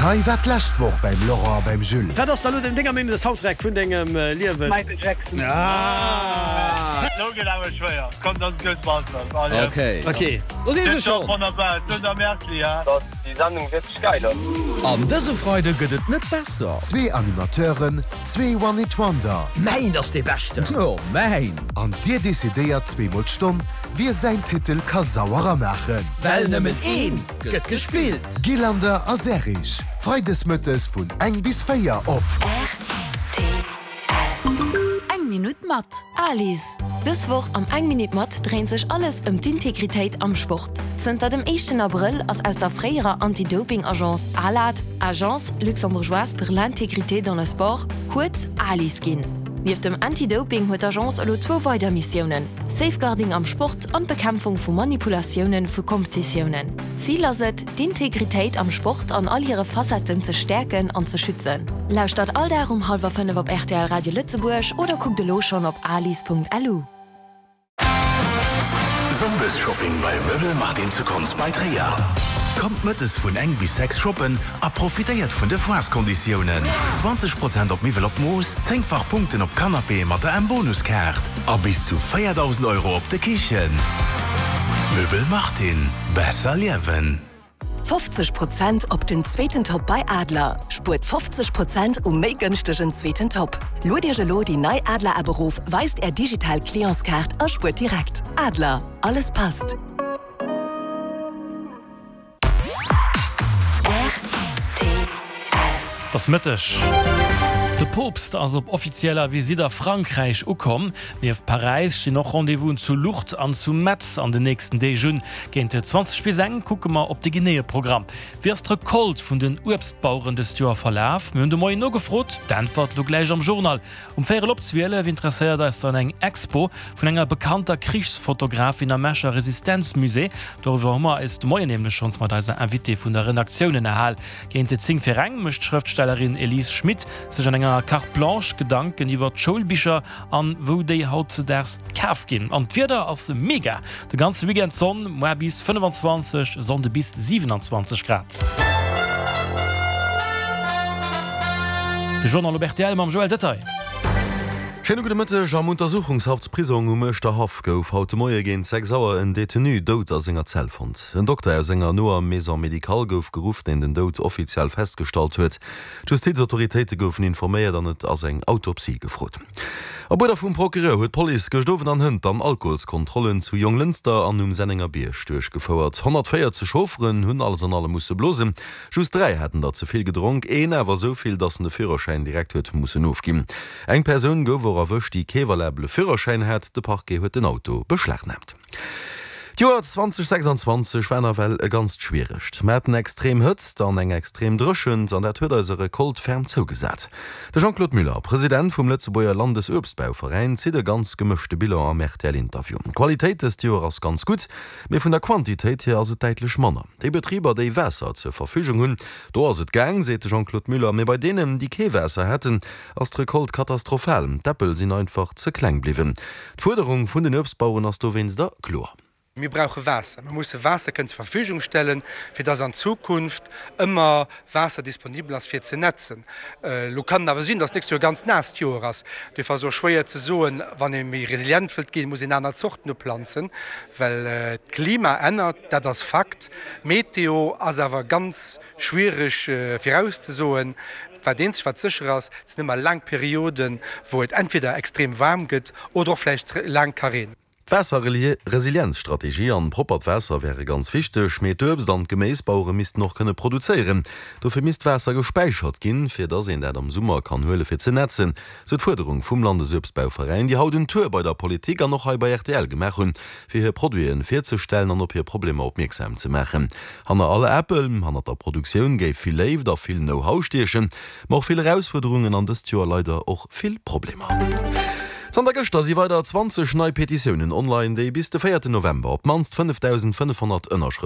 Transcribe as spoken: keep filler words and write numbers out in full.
Detail war d'lescht Woch beim Laurent a beim Jules. Wat ass da lo denger Meenung no de Soundtrack vun dengem Liewen? Michael Jackson. Ah! Lo gëtt awer schwéier. Komm, dat gëtt Basler. Allez. Okay. Okay. Do si se schonn. Wonnerbar. Dunn am Merci, ha. Dass déi Sendung wierklech geil ass. An dëse Freide gëtt et net besser. Zwee Animateuren, zwee One-Hit-Wonder. Mäin ass dee beschten! Jo, mäin! An dir decidéiert zweemol d'Stonn, wie säin Titel ka sauerer maachen. Well nëmmen een gëtt gespillt. Gillander a Serrig, Freides mëttes vun eng bis véier op. Rtl. Eng Minutt mat Alice. Dës Woch am Eng Minutt mat dréint sech alles ëm d'Integritéit am Sport. Zënter dem éischten Abrëll ass aus der fréierer Anti-Doping-Agence ALAD, Agence luxembourgeoise pour l'intégrité dans le sport, kuerz ALIS ginn. Nieft dem Anti-Doping huet d'Agence elo zwou weider Missiounen, Safeguarding am Sport an d'Bekämpfung vu Manipulatioune vu Kompetitiounen. Zil ass et, d'Integritéit am Sport an all hire Facetten ze stäerken an ze schützen. Lauschtert all Dag um hallwer fënnef op rtl Radio Lëtzebuerg oder kuckt elo schonn op alis.lu. Sonndesshopping bei Möbel Martin zu Konz bei Tréier. Kommt mëttes vun eng bis sechs shoppen a profitéiert vun de Foireskonditiounen. zwanzeg Prozent op Miwwel op Mooss, zéngfach Punkten op Canapéë mat der M-Bonuskaart a bis zu véierdausend Euro op de Kichen. Möbel Martin, besser liewen. Fofzeg Prozent op den zweeten Top bei Adler! Spuert fofzeg Prozent um méi gënschtegen zweeten Top. Luet Iech elo déi nei Adler App erof, weist Är digital Clientskaart a spuert direkt. Adler, alles passt! Et ass Mëtteg. De Poopst ass op offizieller Visitt a Frankräich ukomm. Nieft Paräis stinn och Rendez-vousen zu Lourdes an zu Metz an den nächsten Deeg un. Géint zwanzeg bis eng kucke mer op de geneeë Programm. Wéi ass d'Recolte vun den Uebstbaueren dëst Joer verlaf? Mir hunn de Moien nogefrot. D'Äntwert lo gläich am Journal. Um véierel op zwielef interesséiert eis dann eng Expo vun enger bekannter Krichsfotografin am Escher Resistenzmusée. Doriwwer hu mer eis de Moien nämlech schonns mat eiser Invitée vun der Redaktioun ënnerhal. Géint zéng fir eng mécht d'Schrëftstellerin Elise Schmit sech an enger Carte Blanche Gedanken iwwer d'Schoulbicher an wou déi hautzedaags kaf ginn. An d'Wieder ass mega, de ganze Weekend Sonn, muer bis fënnefanzwanzeg, Sonnde bis siwenanzwanzeg Grad. De Journal op rtl mam Joël Detaille. Schéine gudde Mëtteg. Am Untersuchungshaftsprisong um Uerschterhaff gouf haut de Moie géint sechs Auer en Detenu dout a senger Zell fonnt. En Dokter aus enger noer Maison médicale gouf geruff, deen den Doud offiziell festgestallt huet. D'Justizautoritéite goufen informéiert an et ass eng Autopsie gefrot. Op Uerder vum Procureur huet d'Police gëscht Owend an hënt dann Alkoholskontrollen zu Jonglënster an um Sennengerbierg duerchgefouert. honnertvéierzeg Chaufferen hunn alles an allem musse blosen. Just dräi haten der ze vill gedronk, een awer esou vill, datt en de Führerschäin direkt huet mussen ofginn. Eng Persoun gouf och erwëscht, déi kee valabele Führerschäin hat. De Parquet huet den Auto beschlagnaamt. D'Joer zweitausendsechsundzwanzeg war nawell e ganzt schwieregt. Mer haten extrem Hëtzt an eng extrem Dréchent an dat huet eiser Recolte ferm zougesat. De Jean-Claude Muller, President vum Lëtzebuerger Landesuebstbauveräin, zitt e ganz gemëschte Bilan am R T L-Interview. D'Qualitéit dëst Joer ass ganz gutt, mee vun der Quantitéit hier ass et däitlech manner. Déi Betriber, déi Waasser zur Verfügung hunn, do ass et gaang, seet de Jean-Claude Muller, mee bei deenen, déi kee Waasser haten, ass d'Recolte katastrophal. D'Äppel sinn einfach ze kleng bliwwen. D'Fuerderung vun den Uebstbaueren ass dowéinster kloer. Mir brauche Waasser. Mir musse Waasser kënnen zur Verfügung stellen, fir dass an Zukunft ëmmer Waasser disponibel ass fir ze nätzen. Elo kann et awer sinn, dass d'nächst Joer e ganz naasst Joer ass. Duerfir ass et och schwéier ze soen, wann ee méi resilient wëllt ginn, muss een aner Zorten uplanzen, well d'Klima ännert, dat ass Fakt. D'Meteo ass awer ganz schwiereg virauszesoen. Wat eenzegt wat sécher ass, et sinn ëmmer laang Perioden, wou et entweder extrem waarm gëtt oder och vläicht laang Kareen. D'Waasserresilienzstrategie an proppert Waasser wäre ganz wichteg, mee d'Uebst an d'Geméisbauere missten och kënne produzéieren. Dofir misst Waasser gespäichert ginn, fir dass een dat am Summer kann huele fir ze nätzen, sou d'Fuerderung vum Landesuebstbauveräin, déi haut en Tour bei der Politik an och hei bei R T L gemaach hunn, fir hir Produiten virzestellen an op hir Problemer opmierksam ze maachen. Hanner all Äppel, hannert der Produktioun géif vill Léift a vill Know-how stiechen, ma och vill Erausfuerderungen an dëst Joer leider och vill Problemer. Zanter gëschter si weider zwanzeg nei Petitiounen online, déi bis de véierten November op d'mannst fënnefdausendfënnefhonnert Ënnerschrëfte